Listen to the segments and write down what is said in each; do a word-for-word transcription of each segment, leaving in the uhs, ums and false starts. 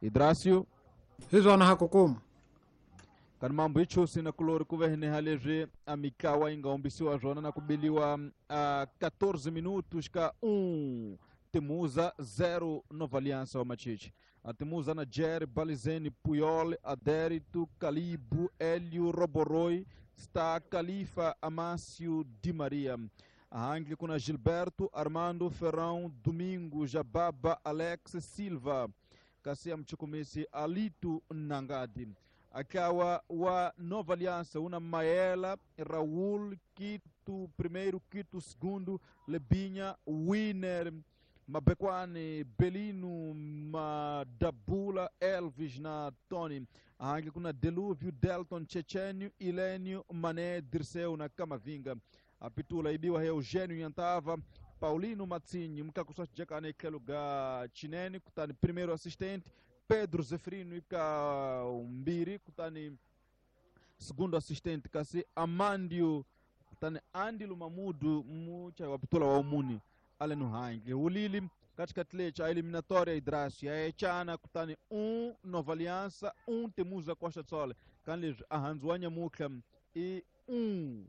Idracio hi swona ha kukuma kani mambo ichusi na kulori kuveheneha leswi a mikawa yi nga hombisiwa swona na ku biliwa a quatorze minutos ka um Temuza zero Nova Aliança wa Machichi. A Temuza na Jerry, Balizene, Puyol, Adérito, Calibo, Hélio, Roboroi, está Califa, Amácio, Di Maria. A Angli com Gilberto, Armando, Ferrão, Domingo, Jababa, Alex, Silva. Kasia Mchukumisi, Alito, Nangadi. Akawa wa Nova Aliança, una Maela, Raul, Quito primeiro, Quito segundo, Lebinha, Winner, Mabekwane, Belino, Madabula, Elvis na Tony. Ahangi kuna Deluvio, Delton, Chechenio, Ilênio, Mané, Dirceu na Camavinga. Apitula ibiwa Eugênio Yantava, Paulino Matzinho, Mkakuswa Jakane Keluga Chinene, kutani primeiro assistente, Pedro Zeferino ika Umbiri, kutani segundo assistente, kasi Amandio, kutani Andilo Mamudu, mucha wapitula wa umuni. Aleno Hangi ulili katika tlecha eliminatória Idracio ya echana kutani um Nova Aliança um Temuza Costa do Sol kanli ahanzuanya mukha e um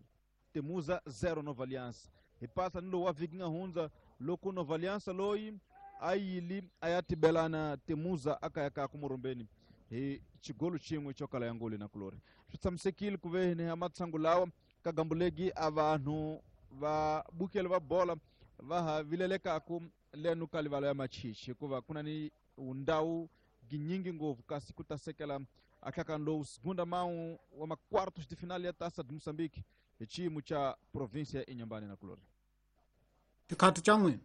Temuza zero Nova Aliança e passa no wa vikinga hunza loko Nova Aliança loi ayili ayatibelana Temuza akayaka kumurumbeni e chigolo chimwe chokala yangoli na kulori tutsamsekile kuvene amatsangulawa kagambulegi abantu va bukele va bola vaha vilelekaku lenu kalivalo ya Machichi kuva kuna ni undau ginyingi ngovu kasi kutasekela akakando segunda mão wa ma quartos de final ya Taça de Moçambique echimo cha província ya Inhambane na kulori xikhathi xa n'wina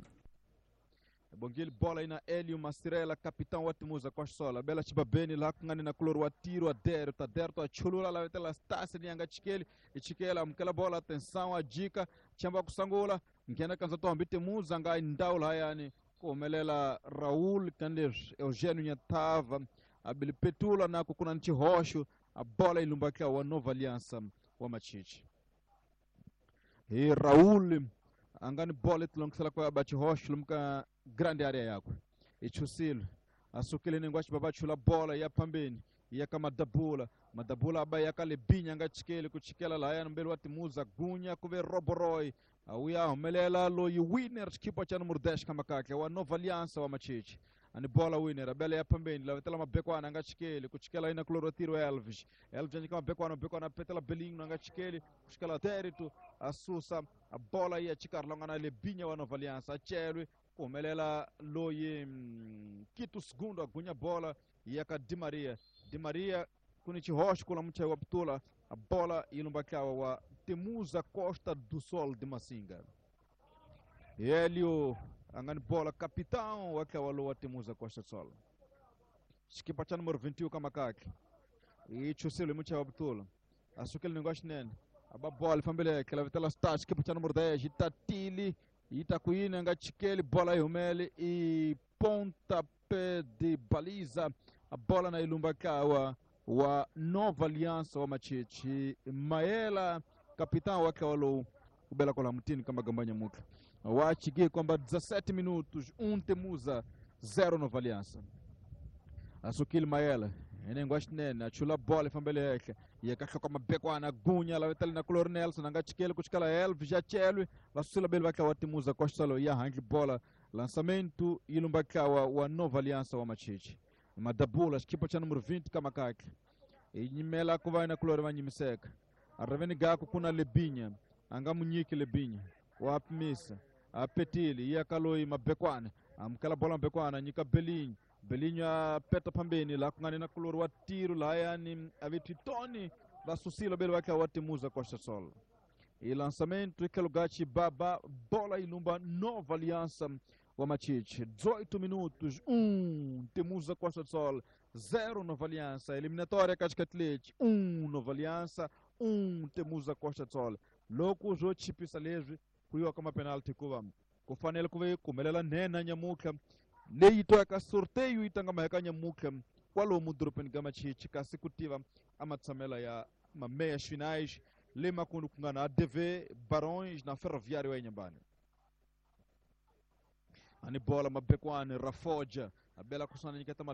Bongile bola ina Hélio Mastrela, capitão wa Temuza Costa Sola. Bela chibabeni la kungani na kulori wa tiro adero, taderto achulula la vetela stasi nianga chikeli, ichikela mkela bola atenção a dica, chamba kusangula, ngena kanza tombi Temuza ngai ndaula hayani, kumelela Raul Kandir, Eugênio Nyatava, abili Petula na kukuna nchi hosho, a bola ilumbakia wa Nova Aliança wa Machichi. E Raul angani bola itilongisela kwa bachi hosho lumka grande área yakwe ichusilo asukile nengwachi babachula bola ya pambeni ya kamadabula madabula aba yakalebinya ngachikele kuchikela la mbele wa Temuza gunya kuve Roboroi auya homelela loyi winner chikipa cha número dez kama kake wa Nova Aliança wa Machichi ani bola winner abele ya pambeni la vetela mabekwana ngachikele kuchikela ina kulorotiro Elvis Elvis anyika mabekwana mabekwana petela Belinho ngachikele kuchikela Terito asusa a bola ya chikarlonga na lebinya wa Nova Aliança achelwe kumelela loyi mm, Quito segundo agunya bola yaka Di Maria Di Maria kuni chihosh kula mcha wa ptula a bola ilumbakawa wa Temuza Costa do Sol de Massinga. Hélio angani bola capitão wakawa lo wa Temuza Costa do Sol. Chikipa cha número vinte e um kama kake. E chusilo mcha wa ptula. Asukele negócio nene. Aba bola fambele que ela vitela sta chikipa cha número dez itatili itakuina ngachikele bola ihumele e pontapé de baliza a bola na ilumbakawa wa Nova Aliança wa Machichi. Maela capitão wakawalo kubela kola mutini kama gambanya muka wachige kwamba dezessete minutos um Temuza zero Nova Aliança. Asukile Maela enengwashi nene achula bola ifambele yake yakakha kwa mabekwana gunya la vetali na Color Nelson angachikele kuchikala Elvis jachelwe vasusila bele vaka wa Temuza Costa Sol ya hangi bola lançamento ilumbakawa wa Nova Aliança wa Machichi. Madabula chikipa cha número vinte kama kake inyimela kuva na Color vanyimiseka areveni gako kuna Lebinha angamunyiki Lebinha wapmisa apetili yakaloi mabekwana amkala bola mabekwana nyika Belinho Belinho apeta pambeni la kungani na kulori wa tiro la yani aviti Tony vasusila bele wake wa Temuza Costa Sol. E lançamento ikelugachi baba bola ilumba Nova Aliança wa Machichi. dezoito minutos um Temuza Costa do Sol zero Nova Aliança. Eliminatória Cascatlete um Nova Aliança um Temuza Costa do Sol. Loko zo chipisa lezwi kuyiwa kama penalty kuva kufanele kuve kumelela nena nyamuka leyi toyaka sorteio itanga maheka nyamuka kwalomu dorobeni ka Machichi kasi kutiva amatshamela ya mameias finais le makundu ku nga na A D V Barões na Ferroviário ya Inhambane. Ani bola mabekwane Rafoja abela kusana nyiketa